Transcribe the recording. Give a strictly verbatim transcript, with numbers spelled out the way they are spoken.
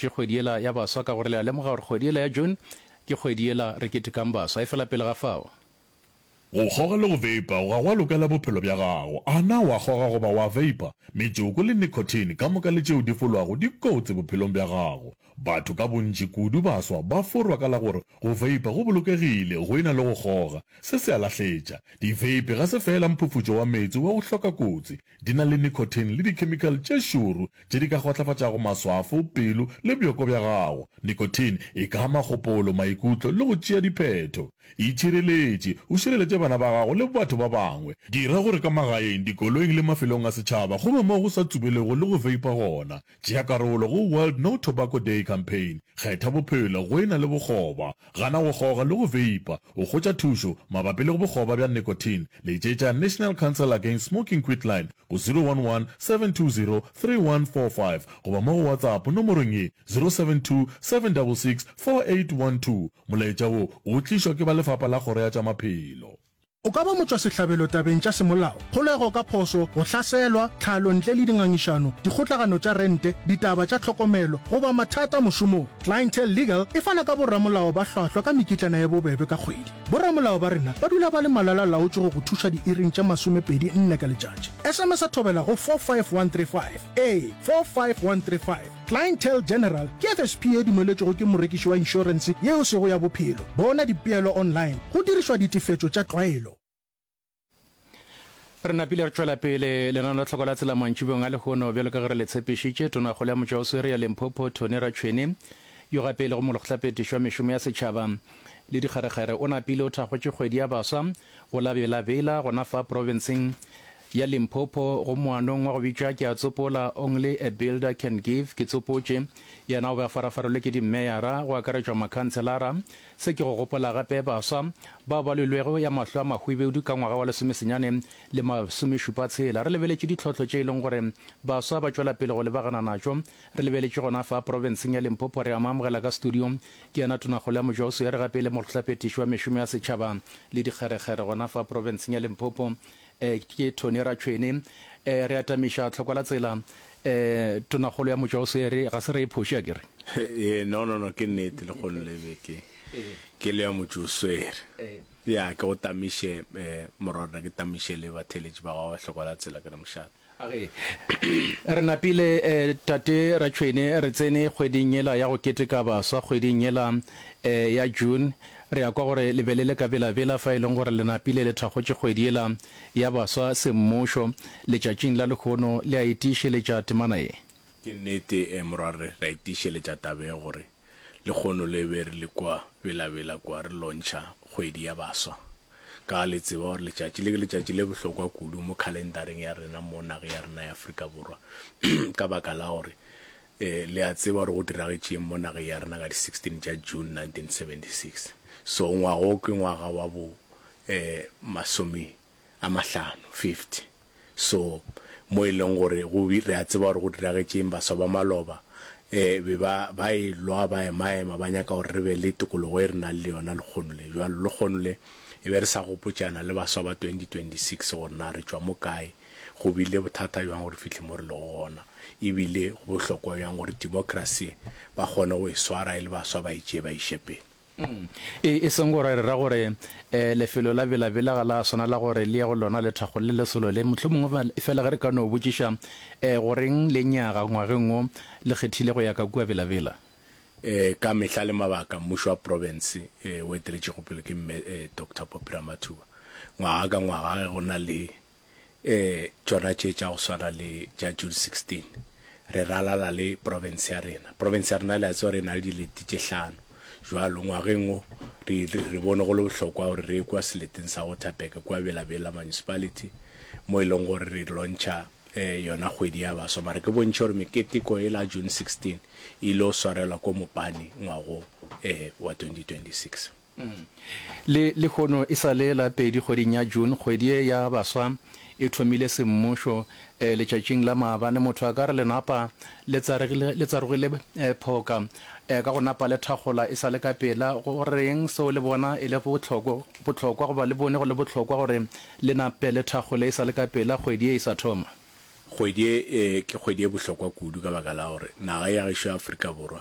thakgotše kgwedi yela ya baswa ka gore le a lemoga gore kgwedi yela ya June ke kgwedi yela re ketekang baswa. Efela pele ga fao. Go kgoga le go veipa ga gwa lokela bophelo bja gago. A na wa kgoga goba wa veipa? Metšoko le nicotine ka moka le tšeo di folwago di kotsi bophelong bja gago. Batho ka bontši, kudu baswa, ba forwa ka la gore go veipa go bolokegile go e na le go kgoga. Se se a lahletša. Di-vape ga se feela mphufutšo wa meetse wa go hloka kotsi. Di na le nicotine le dikhemikhale tše šoro tše di ka kgotlafatšago maswafo, pelo le bjoko bja gago. Nicotine e ka ama kgopolo, maikutlo le go tšea diphetho. Itšhireletše, o šireletše bana ba gago le batho ba bangwe. Dira gore ka magaeng, dikoloing le mafelong a setšhaba go be mo go sa tsubelego le go veipa gona. Tšea karolo go World No Tobacco Day Campaign. Kgetha bophelo go e na le bokgoba. Gana go kgoga le go veipa. O hwetša thušo mabapi le bokgoba bja nicotine, letšetša National Council Against Smoking Quitline go zero one one, seven two zero, three one four five goba mo go WhatsApp nomorong ye, zero seven two, seven double six, four eight one two. Molaetša wo o tlišwa ke ba Lefapha la Kgoro ya tša Maphelo. O ka ba motšwasehlabelo tabeng tša semolao, kgolego ka phoso, go hlaselwa, tlhalo ntle le dingangišano, dikgotlagano tša rente, ditaba tša tlhokomelo, goba mathata mošomong. Clientele Legal e fana ka boramolao ba hlwahlwa ka mekitlana ye bobebe ka kgwedi. Boramolao ba rena ba dula ba le malala-laotšwe go go thuša diiring tše masomepedi nne ka letšatši. S M S Thobela go four five one three five. Ee, four five one three five. Clientele General ke F S P ye dumeletšwego ke morekiši wa inšorense yeo sego ya bophelo. Bona dipeelo online go dirišwa ditefetšo tša tlwaelo. Re napile re tšwela pele lenaneo la Tlhoko la Tsela mantšibong a lehono bjalo ka ge re le tshepišitše. Tonakgolo ya Motšwaoswere ya Limpopo Tony Ratšhwene yo gape e lego molekgotlaphethiši wa mešomo ya setšhaba le dikgerekgere o napile o thakgotše kgwedi ya baswa go la Bela-Bela gona fa profenseng ya Limpopo go moanong wa go bitšwa Ke a Tsopola, Only a Builder Can Give, Ke Tsopotše. Yena o be a farafarelwe ke dimmeyara go akaretšwa makhanselara. Se ke go gopola gape baswa bao ba lwelwego ya mahlo a mahwibidu ka ngwaga wa lesomesenyane le masomešupa tshela. Re lebeletše ditlhohlo tše e leng gore baswa ba tšwela pele go lebagana natšo. Re lebeletše gona fa profenseng ya Limpopo. Re a mo amogela ka studio. Ke yena Tonakgolo ya Mojoswere gape e le Molekgotlaphethiši wa mešomo ya setšhaba le dikgerekgere gona fa profenseng ya Limpopo. Eh, ke Tony Ratšhwene. Eh, re atamiša tlhoko la tsela. Eh, Tonakgolo ya Motšwaoswere, ga se re e phoše a ke re? Ee, no, no, no, ke nnete, lekgono le be ke, ke le ya Motšwaoswere. Ya, ke go tamiše, eh, morwarra, ke tamiše le batheeletši ba gago ba hloko la tsela, ke re mošate. Age, re napile, eh, Tate Ratšhwene, re tsene kgweding yela ya go keteka baswa, kgweding yela, eh, ya June. Re a kwa gore le be le le ka Bela-Bela fa e leng gore le napile le thakgotše kgwedi yela ya baswa semmušo. Letšatšing la lehono le a e tiišeletša temana ye. Ke nnete, morwarre, re a e tiišeletša taba ye gore lehono le be re le kua Bela-Bela kua re lontšha kgwedi ya baswa. Ka le tseba gore letšatši le ke letšatši le bohlokwa kudu mo khalendareng ya rena mo nageng ya rena ya Afrika Borwa ka baka la gore Le a tseba gore go diragetšeng mo nageng ya rena ka di sixteen tša June nineteen seventy six. So ngwaga wo ke ngwaga wa bo masome a mahlano, fifty. So mo e leng gore go re a tseba gore go diragetšeng, baswa ba maloba be ba ba e lwa, ba ema-ema, ba nyaka gore re be le tokologo e re nang le yona lekgono le. Bjalo lekgono le e be re sa gopotšana le baswa ba twenty twenty six gore na re tšwa mo kae, Go bile bothata bjang gore fihle mo re lego gona, e bile go bohlokwa bjang gore demokrasi ba kgone go e swara e le baswa ba e tšee ba iše pele. E, e seng gore re ra gore lefelo la Bela-Bela ga la swanela gore le ye go lona lethakgo le lesolo le. Mohlomongwe fela ge re ka no botšiša, goreng lenyaga ngwageng wo le kgethile go ya ka kua Bela-Bela? Ka mehla le mabaka, mmušo wa profense o eteletšego pele ke Mme Doctor Poppy Ramathuba, ngwaga ka ngwaga ge go na le E, tšona tše tša go swana le tša June sixteen, re ralala le profense ya rena. Profense ya rena le a tseba gore e na le dilete tše hlano. Bjalo ngwageng wo re, re bone go le bohlokwa gore re ye kua seleteng sa Waterberg kua Bela-Bela Municipality mo e leng gore re launcha e, yona kgwedi ya baswa. Mara ke bontšhe gore meketeko yela June sixteen e ile swarelwa ko Mopani ngwago e, wa twenty twenty six. Le lehono e sa le la pedi kgweding ya June, kgwedi ye ya baswa e thomile semmušo. Letšatšing la maabane motho a ka re lenapa le tsaregile, le tsarogile phoka ka go napa le thakgola e sa le ka pela. Go reng seo le bona e le bohlokwa, bohlokwa goba le bone go le bohlokwa gore le nape le thakgole e sa le ka pela kgwedi ye e sa thoma? Kgwedi ye ke kgwedi ye bohlokwa kudu ka baka la gore naga ya gešo ya Afrika Borwa